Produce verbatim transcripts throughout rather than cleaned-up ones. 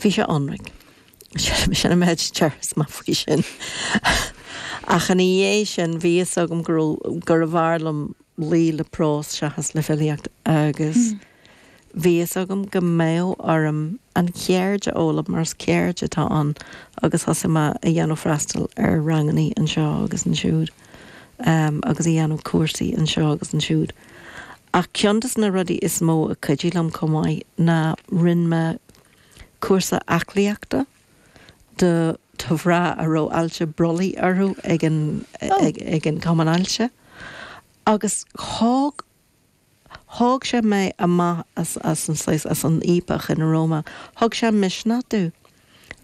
Bhí sé ionraic. Sin an méid a déarfas mé faoi sin. Ach ina dhiaidh sin bhí fhios agam go gurbh fhearr liom luí le prós seachas le filíocht agus bhí fhios agam go mbeadh orm an cheird a fhoghlaim mar is ceird atá ann agus thosaigh mé a dhéanamh freastal ar ranganna anseo agus ansiúd um, agus a dhéanamh cúrsaí anseo agus ansiúd. Ach ceann de na rudaí is mó a chuidigh liom chomh maith ná rinne mé cúrsa aclaíochta do do mhná a raibh ailse brollaigh orthu ag an ag, ag an Cumann Ailse. Agus thóg thóg sé mé amach as as an saghas as an fhaopach ina raibh mé. Thug sé misneach domh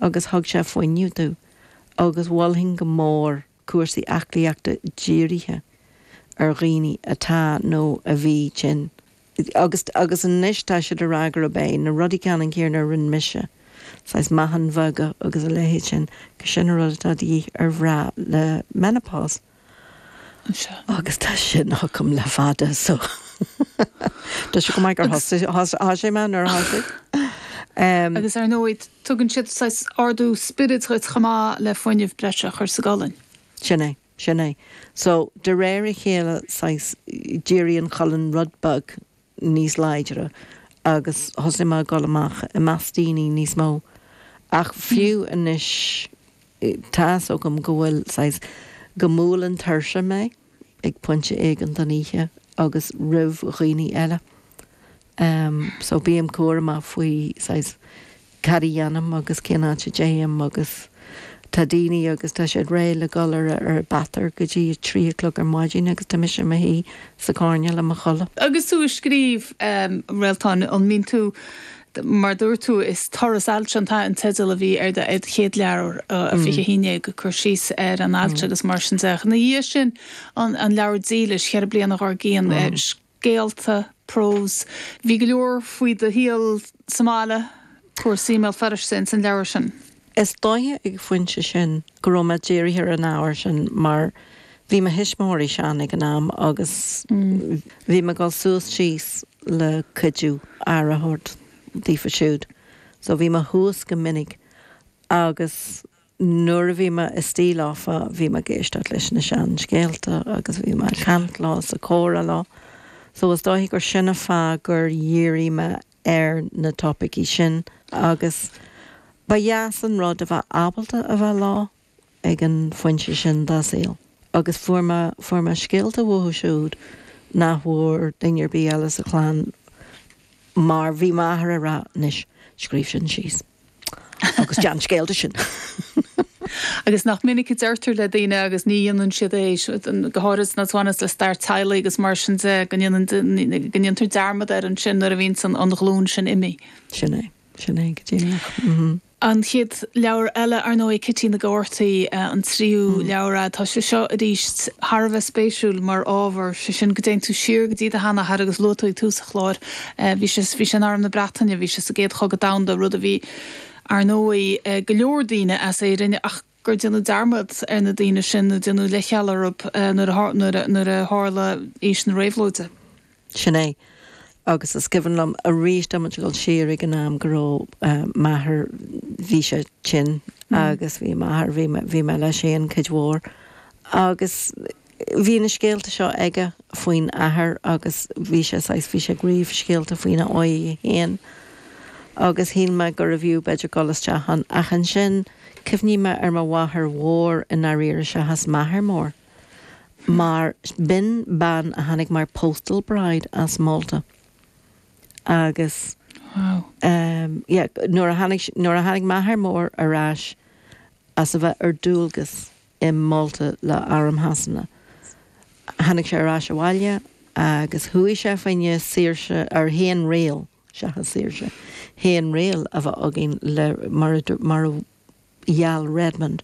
agus thug sé fuinneamh domh agus mholfainn go mór cúrsaí aclaíochta dírithe ar dhaoine atá nó a bhí tinn. Agus agus anois tá siad ag rá gurb é na rudaí ceannann céanna a rinne mise. Saghas meáchain bheaga agus a leithéid sin go sin rud atá de dhíth ar mhná le menopause. Agus tá sin agam le fada so. Tá sé go maith gur thosaigh mé nuair a thosaigh. Agus ar ndóigh tugann siad saghas ardú spioraid dhuit chomh maith le fuinneamh breise a chur sa gcolainn. Sin é, sin é. So de réir a chéile saghas d'éirigh an cholainn rud beag níos láidre agus thosaigh mé dul amach i measc daoine níos mó. Ach fiú anois tá fhios agam go bhfuil saghas go mbuaileann tuirse mé ag pointe éigin den oíche agus roimh dhaoine eile. Um, so bím cúramach faoi saghas cad a dhéanaim agus cén áit a dtéim agus tá daoine agus tá siad réidh le dul ar ar bathair go dtí trí a chlog ar maidin agus tá mise i mo shuí sa choirnéal le mo chodladh. Agus tú ag scríobh um, Réaltán an mbíonn tú mar dúirt tú is turas ailse an an teideal a bhí ar do chéad leabhar a fiche haon go cur síos ar an ailse agus mar sin de. Ina dhiaidh sin an, an leabhar dílis cheithre bliana dár gcionn scéalta prós. Bhí go leor faoi do shaol sa mbaile cúrsaí i mBéal Feirste san leabhar sin. Is dóiche ag pointe sin go raibh mé dírithe ar an ábhar sin mar bhí mo thuismitheoirí sean ag an am agus bhí mé ag dul suas síos le cuidiú aire a thabhairt daofa siúd. So bhí mé thuas go minic agus nuair a bhí mé istigh leofa bhí mé ag éisteacht leis na seanscéalta agus bhí mé ag caint leo sa chomhrá leo. So is dóiche gur sin an fáth gur dhírigh mé ar na topaicí sin agus ba dheas an rud a bheith ábalta a bheith leo ag an phointe sin dá saol. Agus fuair mé fuair mé scéalta uathu siúd nach bhfuair duine ar bith eile sa chlann mar bhí m'athair ag rá anois scríobh sin síos. Agus déan scéal de sin. Agus nach minic a deirtear le daoine agus ní dhéanann siad é go háirithe na bhaineann le stair teaghlaigh agus mar sin de go ndéantar dearmad air ansin nuair a bhíonn san an ghlúin sin imithe. Sin é sin é go díreach. Mhm. An chéad leabhar eile ar ndóigh Cití na gCártaí an tríú leabhar tá sé seo arís thar a bheith spéisiúil mar ábhar sé sin go dtéann tú siar go dtí do sheanathair agus luaigh tú ag tús an chláir bhí sé bhí sé in arm na Breataine bhí sé sa gcéad chogadh domhanda rud a bhí ar ndóigh go leor daoine as Éirinn ach gur déanadh dearmad ar na daoine sin nó déanadh leithcheal orthu nuair a tharla aois na réabhlóide. Sin é. Agus is cuimhin liom arís dom dul siar ag an am go raibh m'athair bhí sé tinn agus bhí m'athair bhí mé leis féin cuid mhór agus bhí na scéalta seo aige faoin athair agus bhí sé saghas bhí sé ag ríomh scéalta faoina óige féin agus shíl mé gurbh fhiú b'fhéidir dul isteach ann ach ansin cuimhním ar mo mháthair mhór i ndáiríre seachas m'athair mór. Mar b'in bean a tháinig mar postal bride as Malta. Agus Wow. um, yeah, nuair a tháinig nuair a tháinig m'athair mór ar ais as a bheith ar dualgas i Malta le arm Shasana. Tháinig sé ar ais abhaile agus chuaigh sé fá choinne saoirse ar fhéinriail seachas saoirse. Fhéinriail a bheith againn le mar a mar a gheall Redmond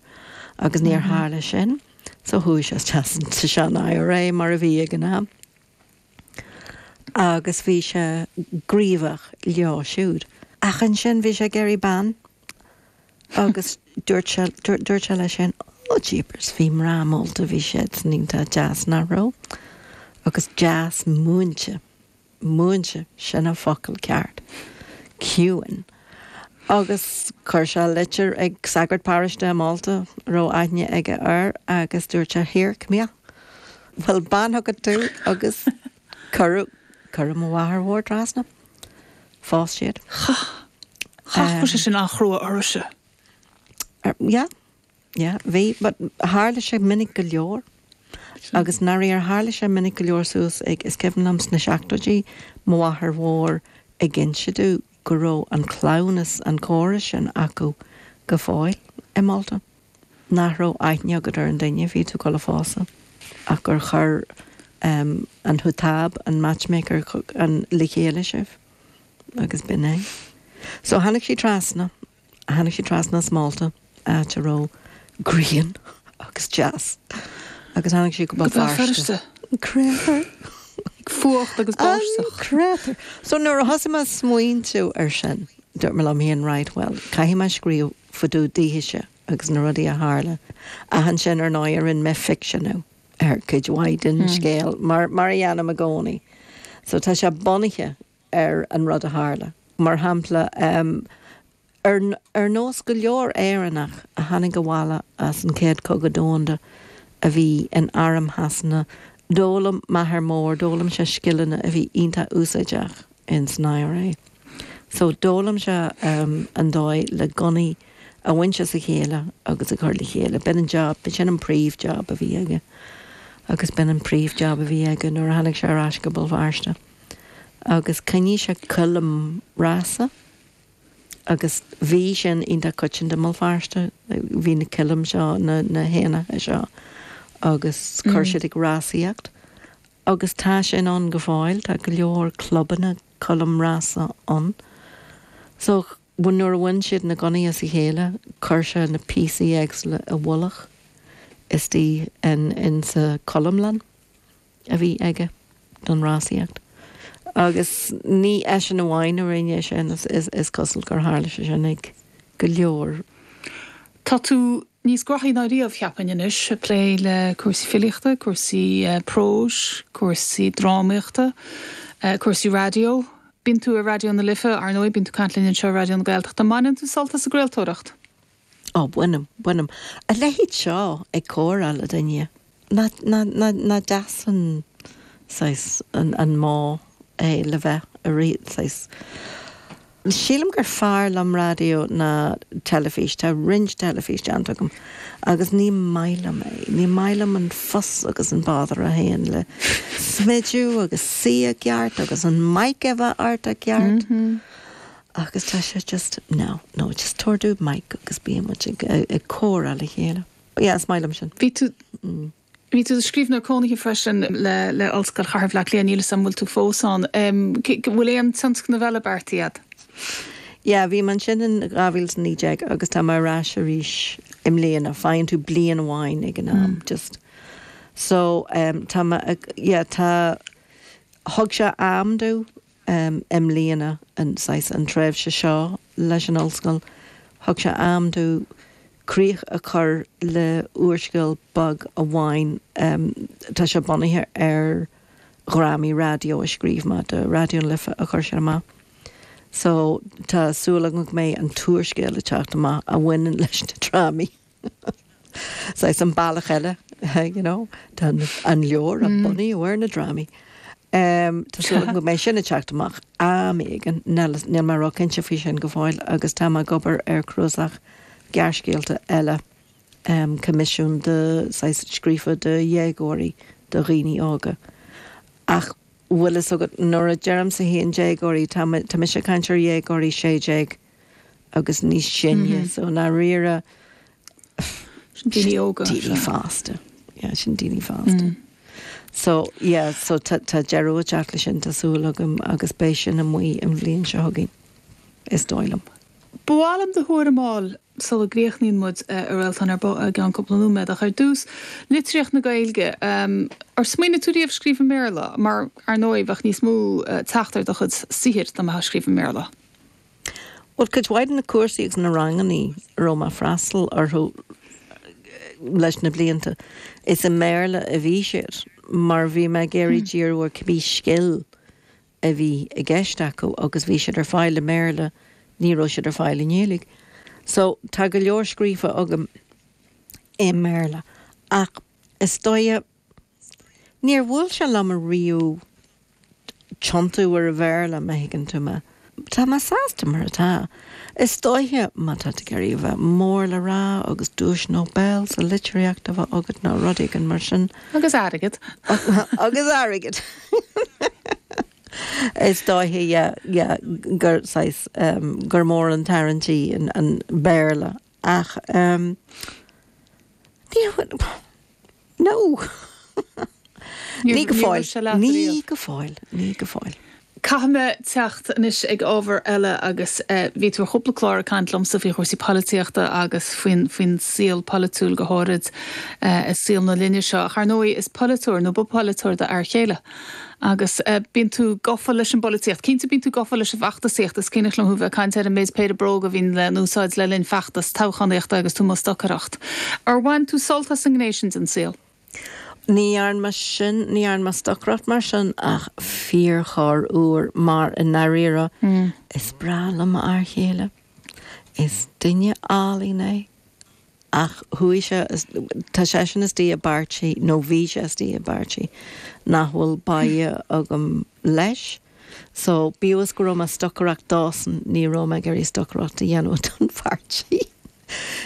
agus níor tharla sin, so chuaigh sé sa sean IRA mar a bhí ag an am. Agus bhí sé gníomhach leo siúd. Ach ansin bhí sé ag iarraidh bean agus dúirt sé dúirt sé leis sin ó jeepers bhí mná Málta bhí siad san iontach deas nach raibh agus deas múinte múinte sin an focal ceart ciúin Agus chuir sé litir ag sagart paróiste i Málta a raibh aithne aige air agus dúirt sé here, come here. Bhfuil bean agat tú agus cuireadh cuireadh mo mháthair mhór trasna. Phós siad. Chaith sé sin an-chrua orthu. Yeah, yeah, bhí, but tharla sé minic go leor. Agus nuair a tharla sé minic go leor suas ag is cuimhin liom sna seachtóidí mo mháthair mhór ag inse domh go raibh an cleamhnas an córas sin acu go fóill i Málta. Nach raibh aithne agat ar an duine bhí tú ag pósadh ach gur chuir um, an hutab an matchmaker an le chéile sibh agus b'in é. So tháinig sí trasna, tháinig sí trasna as Málta áit a raibh grian agus deas. Agus tháinig sí go Go Béal Béal Feirste. Créatúr. Fuacht agus báisteach. Créatúr. So nuair a thosaigh mé smaointiú ar sin, dúirt mé liom féin right well, caithfidh mé scríobh fá dtaobh daoithe agus na rudaí a tharla. Ach ansin ar ndóigh rinne mé ficseanú ar cuid mhaith den scéal mar mar a dhéanaim i gcónaí. So tá sé bunaithe ar an rud a tharla. Mar shampla um, ar, ar nós go leor Éireannach a tháinig abhaile as an chéad Chogadh Domhanda a bhí in arm Shasana, d'fhoghlaim m'athair mór, d'fhoghlaim sé scileanna a bhí iontach úsáideach in san IRA. So d'fhoghlaim sé um, an dóigh le gunnaí a bhaint as a chéile agus a chur le chéile. B'in an job, b'in sin an príomhjob a bhí aige. Agus b'in an príomhjob a bhí aige nuair a tháinig sé ar ais go Béal Feirste. Agus choinnigh sé coilm rása agus bhí sin iontach coitianta i mBéal Feirste, bhí na coilm seo na, na héanacha seo agus chuir siad ag rásaíocht. Agus tá sin ann go fóill, tá go leor clubanna coilm rása ann. So nuair a bhain siad na gunnaí as a chéile, chuir sé na píosaí éagsúla i bhfolach istigh in, in sa choilmlann a bhí aige don rásaíocht. Agus ní eisean amháin a rinne sin is, is, is cosúil gur tharla sé sin ag go leor. Tá tú níos gnóthaí ná riamh cheapfainn anois ag plé le cúrsaí filíochta, cúrsaí uh, próis, cúrsaí drámaíochta, uh, cúrsaí raidió. Bíonn tú ar Raidió na Life ar ndóigh bíonn tú ag caint linn anseo Raidió na Gaeltachta. Mbaineann tú sult as an gcraoltóireacht. Ó bainim, bainim. A leithéid seo ag comhrá le duine. Ná, ná, ná, ná deas an saghas an, an modh é le bheith a rí saghas. Sílim gur fearr liom raidió ná teilifís, tá roinnt teilifís déanta agam agus ní maith liom é, ní maith liom an fuss agus an bother a théann le smidiú agus suí i gceart agus an mic a bheith ort i gceart. Mm -hmm. Agus tá sé just no, no, just tabhair domh mic agus bíonn ag, ag comhrá le chéile. Yeah, is maith liom sin. Bhí tú mm. Bhí tú scríbhneoir cónaithe freisin le le Ollscoil Chathair Bhaile Átha Cliath níl an bhfuil tú fós ann. Um, bhfuil aon tionscnamh eile beartaithe agat? Ja, bhí mé ansin in dhá mhíle naoi déag agus tá mé ar ais arís i mbliana, faigheann tú bliain amháin ag an am mm. just. So um, tá yeah, tá thug sé am domh um, i mbliana an an tréimhse seo leis an ollscoil, thug sé am domh críoch a chur le úrscéal beag amháin um, tá sé bunaithe ar dhrámaí raidió a scríobh mé do Raidió na Life a chur sé amach. So tá súil agam go mbeidh an t-úrscéal ag teacht amach a bhaineann leis na drámaí. So is an bealach eile you know, tá an leabhar a mm. bunaithe ar na drámaí. Um, Tá súil go mbeidh sin ag teacht amach am éigin níl mé róchinnte faoi sin go fóill agus tá mé ag obair ar chnuasach gearrscéalta eile um, coimisiún de scríofa do dhéagóirí do dhaoine óga. Ach bhfuil fhios agat nuair a deirimse féin déagóirí tá mise ag caint ar dhéagóirí sé déag agus níos sine mm -hmm. so na rire daoine óga daoine fásta yeah, sin daoine fásta. Mm. So yeah, so tá deireadh ag teacht leis sin tá súil agam agus beidh sin amuigh an bhliain seo chugainn is dóigh liom. B'áil liom do thuairim a fháil sula gcríochnaíonn muid a Réaltán ar gan cúpla nóiméad ach ar dtús litríocht na Gaeilge um, ar smaoinigh tú riamh scríobh i mBéarla mar ar ndóigh bheadh níos mó uh, teacht ar do chuid saothair dá mbeifeá ag scríobh i mBéarla. Well cuid mhaith de na cúrsaí agus na ranganna a raibh mé ag freastal orthu leis na blianta. Is i mBéarla a bhí siad mar bhí mé ag iarraidh díriú ar cibé scil a bhí i gceist acu agus bhí siad ar fáil i mBéarla Ní raibh siad ar fáil i nGaeilge. So tá go leor scríofa agam i mBéarla. Ach is dóigh níor bhuail sé liom riamh tiontú ar an Bhéarla má thuigeann tú mé. Tá mé sásta mar atá. Is dóiche má tá tú ag iarraidh a bheith mór le rá agus duais Nobel sa litríocht a bheith agat nó rud éigin mar sin. Agus airgead. Agus airgead. Is dóiche yeah, yeah, gur saghas um, gur mór an tarraingt an, an Béarla ach um, ní no. Ní go fóill ní go fóill ní go fóill. Caithfidh mé teacht anois ag ábhar eile agus bhí tú ar chúpla clár ag caint liomsa faoi chúrsaí polaitíochta agus faoin faoin saol polaitiúil go háirid i saol na linne seo. Ach ar ndóigh is polaiteoir nó ba polaiteoir d'fhear céile. Agus bíonn tú gafa leis an bpolaitíocht. Cinnte bíonn tú gafa leis an bhfeachtasaíocht is cuimhneach liom thú bheith ag caint ar an méid péire bróg a bhíonn le n-úsáid le linn feachtas toghchánaíochta agus tú ag stocaireacht. Ar bhain tú sult as an ngné sin den saol? Ní dhearna mé sin, ní dhearna mé stocaireacht mar sin ach fíorchorruair mar i ndáiríre is breá liom m'fhear chéile. Is duine álainn é ach chuaigh sé, tá seisean istigh i bpáirtí nó bhí sé istigh i bpáirtí nach bhfuil báidhe agam leis. So bíodh is go raibh mé ag stocaireacht dósan ní raibh mé ag iarraidh stocaireacht a dhéanamh don pháirtí.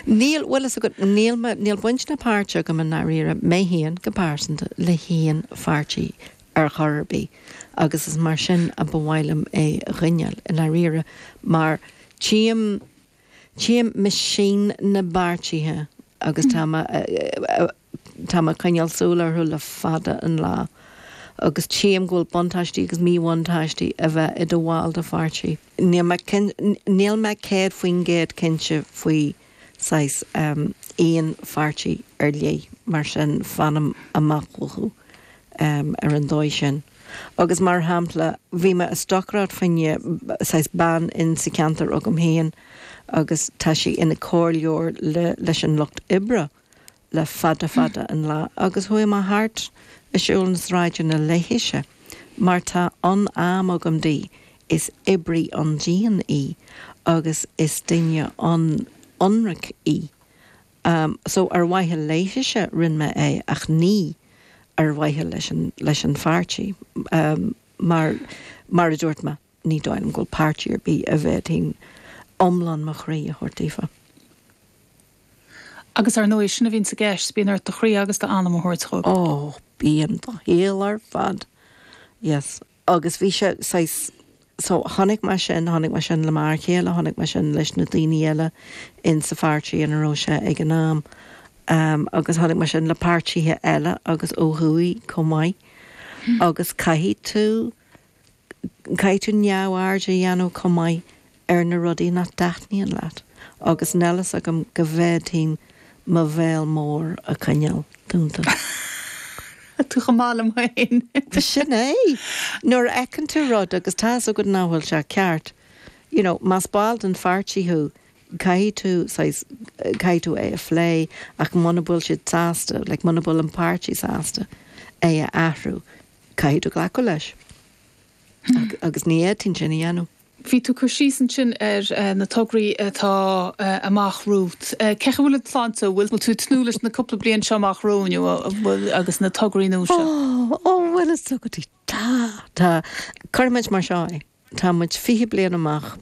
Níl, bhfuil fhios agat, níl mé, níl baint ná páirt agam i ndáiríre, mé féin go pearsanta, le haon pháirtí ar chor ar bith agus is mar sin a ba mhaith liom é a choinneáil i ndáiríre mar tchím, tchím machine na bpáirtithe agus tá mé, tá mé ag coinneáil súil orthu le fada an lá agus tchím go bhfuil buntáistí agus míbhuntáistí a bheith i do bhall de pháirtí. Níl mé, níl mé céad faoin gcéad cinnte faoi saghas aon pháirtí ar leith, mar sin fanaim amach uathu ar an dóigh sin. Agus mar shampla, bhí mé ag stocaireacht fá choinne saghas bean in sa cheantar agam féin agus tá sí ina comhairleoir le leis an Lucht Oibre le fada fada an lá agus chuaigh mé thart ag siúl na sráideanna léithise mar tá an-am agam di, is oibrí an-dian í agus is duine an-ionraic í. So ar mhaithe léithise rinne mé é ach ní ar mhaithe leis an leis an pháirtí mar mar a dúirt mé ní dóigh liom go bhfuil páirtí ar bith a bhféadfainn iomlán mo chroí a thabhairt daofa. Agus ar ndóigh sin a bhíonn sa gceist, bíonn ort do chroí agus d'anam a thabhairt dóibh. Ó, bíonn do shaol ar fad. Yes. Agus bhí sé saghas, so chonaic mé sin, chonaic mé sin le m'fhear céile, chonaic mé sin leis na daoine eile in sa pháirtí ina raibh sé ag an am. Um, agus chonaic mé sin le páirtithe eile agus ó thuaidh chomh maith. Agus caithfidh tú, caithfidh tú neamhaird a dhéanamh chomh maith ar na rudaí nach dtaitníonn leat. Agus níl fhios agam go bhféadfainn mo bhéal mór a choinneáil dúnta. Tú chomh maith liom féin. Sin é. Nuair a fheiceann tú rud agus tá fhios agat nach bhfuil sé ceart, you know, más ball den pháirtí thú, caithfidh tú saghas, caithfidh tú é a phlé ach muna bhfuil siad sásta, like muna bhfuil an páirtí sásta é a athrú, caithfidh tú glacadh leis. Agus ní fhéadfainn sin a dhéanamh. Bhí tú ag cur síos ansin ar na tograí atá amach romhat. Cén chaoi a bhfuil an tsláinte? Bhfuil tú ag tnúth leis na cúpla bliain seo amach romhainn agus na tograí nua seo? Ó, ó, bhfuil fhios agat, tá, tá. Cuirfidh muid mar seo é. Tá muid fiche bliain amach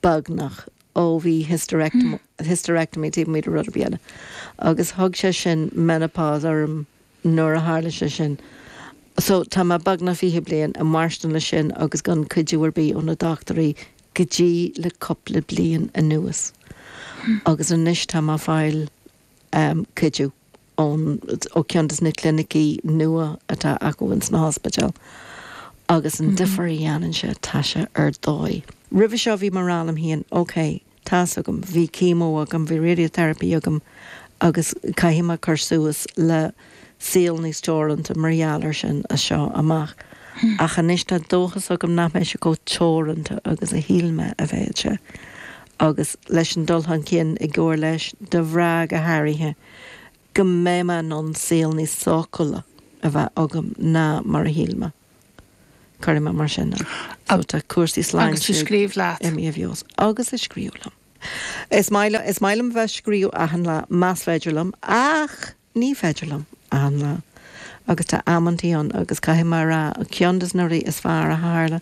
beagnach ó bhí hysterectomy taobh amuigh de rud ar bith eile. Agus thug sé sin menopause orm nuair a tharla sé sin. So tá mé beagnach fiche bliain ag mairstin leis sin agus gan cuidiú ar bith ó na dochtúirí go dtí le cúpla bliain anuas. Agus anois tá mé ag fáil cuidiú ón, ó ceann des na clinicí nua atá acu ins na hospidéil. Agus an difear a dhéanann sé, tá sé ar dóigh. Roimhe seo bhí mé ag rá liom féin, ok, tá's agam, bhí chemo agam, bhí radiotherapy agam agus caithfidh mé cur suas le saol níos teoranta mar gheall air sin as seo amach. Ach anois tá dóchas agam nach mbeidh sé chomh teoranta agus a shíl mé a bheadh sé. Agus leis an dul chun cinn i gcomhar leis do mhná go háirithe, go mbeidh mé in ann saol níos sócúla a bheith agam ná mar a shíl mé. Cuirfidh mé mar sin é. So tá cúrsaí sláinte Agus ag scríobh leat. imithe i bhfeabhas. Agus ag scríobh liom. Is maith liom, is maith liom bheith scríobh achan lá, más féidir liom, ach ní féidir liom achan lá. Agus tá amantaí ann agus caithfidh mé a rá, ceann des na rudaí is fearr a tharla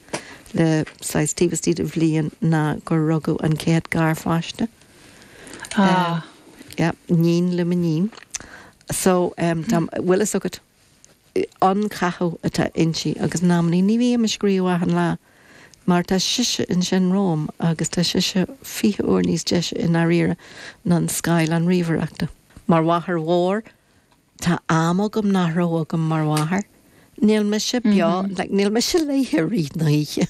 le saghas taobh istigh de bhliain ná gur rugadh an chéad garpháiste. Ah. Yeah, níon le m'iníon. So um, tá, bhfuil fhios agat an cathú atá inti agus in amannaí ní bhím ag scríobh achan lá mar tá sise ansin romham agus tá sise fiche uair níos deise i ndáiríre ná an scáileán ríomhaireachta. Mar mháthair mhór tá am agam nach raibh agam mar mháthair. Níl mise beo, like, níl mise léithe rith na hoíche.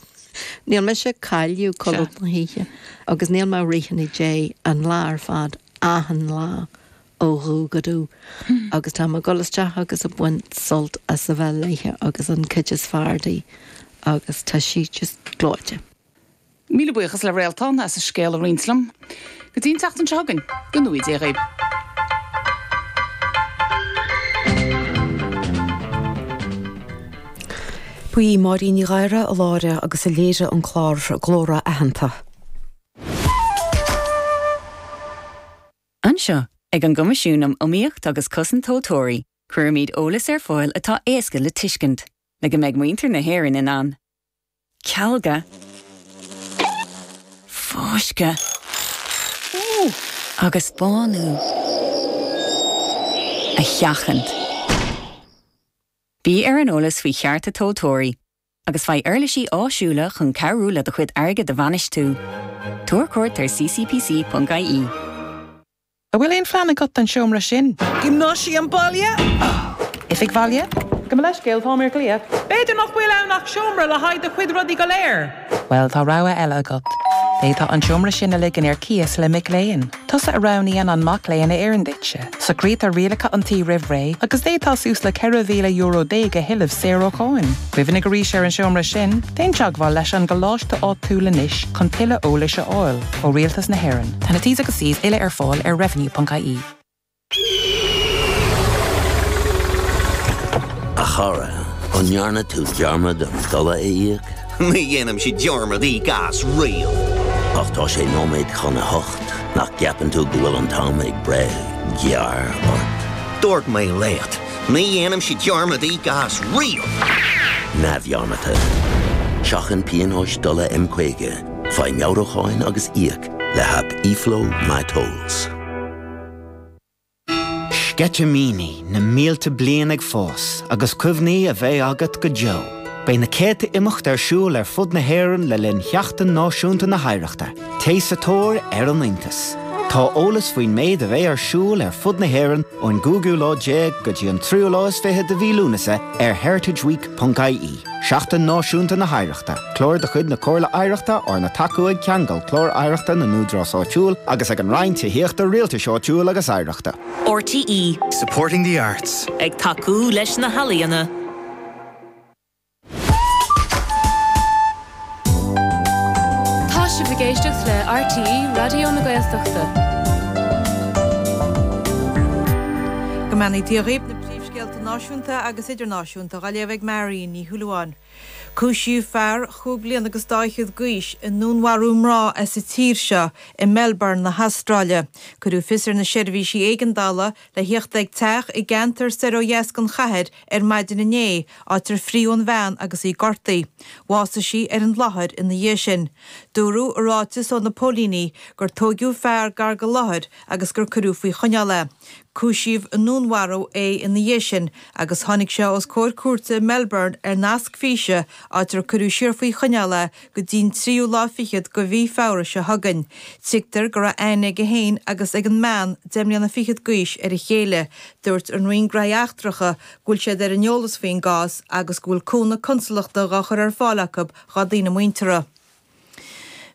Níl mise cailleadh codladh na hoíche agus níl mé rith na dé an lá ar fad achan lá ó dhubh go dubh. Agus tá mé ag dul isteach agus ag baint sult as a bheith léithe agus an cuid is fearr di agus tá sí just gleoite. Míle buíochas le Réaltán as a scéal a roinnt liom. Go dtí an tseachtain seo chugainn, go ngnóthaí Dia dhaoibh. Ba í Máirín Ní Ghadhra a láithrigh agus a léirigh an clár Glóra Aitheanta. Anseo, ag an gCoimisiún um Iomaíocht agus Cosaint Tomhaltóirí, cuirimid eolas ar fáil atá éasca le tuiscint, le go mbeidh muintir na hÉireann in ann. Cealga, fáisceadh agus bánú a sheachaint. Bí ar an eolas faoi chearta tomhaltóirí, agus faigh uirlisí áisiúla chun cabhrú le do chuid airgid a bhainistiú. Tabhair cuairt ar ccpc.ie. An bhfuil aon phlean agat don seomra sin? Giomnáisiam baile? Oifig bhaile? Gabh mo leithscéal, táim ar glaoch. B'fhéidir nach bhfuil ann ach seomra le haghaidh do chuid rudaí go léir. Bhuel, tá rogha eile agat. D'fhéadfá an seomra sin a ligean ar cíos le mic léinn. Tusa a roghnaíonn an mac léinn a oireann duitse. Socraítear rialacha an tí roimh ré agus d'fhéadfá suas le ceithre mhíle euro déag a thuilleamh saor ó cháin. Cuimhnigh arís ar an seomra sin, déan teagmháil leis an gcoláiste áitiúil anois chun tuilleadh eolais a fháil ó Rialtas na hÉireann. Tá na T's agus C's uile ar fáil ar revenue.ie. A chara, an ndearna tú dearmad an dola a íoc? Ní dhéanaimse dearmad íoc as riamh. Ach tá sé nóiméad chun a hocht, nach gceapann tú go bhfuil an t-am ag breith gearr ort. Dúirt mé leat, ní dhéanaimse dearmad íoc as riamh. Neamhdhearmadta. Seachain pionóis dola M caoga, faigh meabhrúcháin agus íoc le haip eFlow MyTolls. Sceitimíní na mílte bliain ag fás agus cuimhní a bheidh agat go deo. Beidh na céadta imeacht ar siúl ar fud na hÉireann le linn Sheachtain Náisiúnta na hOidhreachta, Téigh sa tóir ar an iontas. Tá eolas faoin méid a bheidh ar siúl ar fud na hÉireann ón gcúigiú lá déag go dtí an tríú lá is fiche de mhí Lúnasa ar heritageweek.ie. Seachtain Náisiúnta na hOidhreachta, clár de chuid na Comhairle Oidhreachta arna tacú ag Ceangal Clár Oidhreachta na nÚdarás Áitiúil agus ag an Roinn Tithíochta Rialtais Áitiúil agus Oidhreachta. RTE. Supporting the arts. Ag tacú leis na healaíona. Tá sibh ag éisteacht le RTE Raidió na Gaeltachta. Go mbeannaí Dia dhaoibh na príomhscéalta náisiúnta agus idirnáisiúnta á léamh ag Marion Ní Shúilleabháin. Cúisíodh fear chúig bliana agus dá fhichead d'aois i ndúnmharú mná as an tír seo i Melbourne na hAstráile. Cuireadh fios ar na seirbhísí éigeandála le theacht ag teach i gceantar soir ó dheas den chathair ar maidin inné, áit ar fríodh an bhean agus í gortaithe. Bhásaigh sí ar an láthair ina dhiaidh sin. Dúradh i ráiteas ó na póilíní gur tóigeadh fear gar don láthair agus gur cuireadh faoi choinneáil é. Cúisíodh i ndúnmharú é ina dhiaidh sin agus tháinig sé os comhair cúirte i Melbourne ar nasc físe áit ar cuireadh siar faoi choinneáil é go dtí'n tríú lá fichead de mhí Feabhra seo chugainn. Tuigtear go raibh aithne aige féin agus ag an mbean deich mbliana fichead d'aois ar a chéile. Dúirt an Roinn Gnóthaí Eachtracha go bhfuil siad ar an eolas faoin gcás agus go bhfuil cúnamh consalachta á chur ar fáil acu dá daoine muinteartha.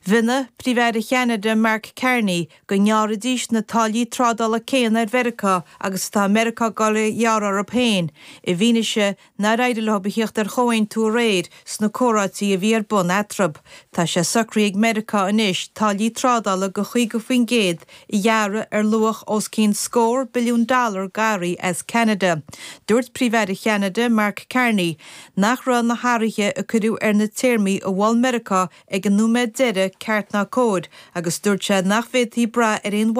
Mhionnaigh Príomh-Aire Cheanada Mark Carney go ngearrfaidís na táillí trádála céanna ar Mheiriceá agus atá Meiriceá ag dul a ghearradh orthu féin, i bhfianaise nár éirigh leo a theacht ar chomhaontú aréir sna comhráití a bhí ar bun eatarthu. Tá sé socraithe ag Meiriceá anois táillí trádála de chaoga faoin gcéad a ghearradh ar luach os cionn scór billiún dollar d'earraí as Ceanada. Dúirt Príomh-Aire Cheanada Mark Carney nach raibh na hathruithe a cuireadh ar na téarmaí a mhol Meiriceá ag an nóiméad deiridh ceart ná cóir agus dúirt sé nach bhféadfaí brath ar aon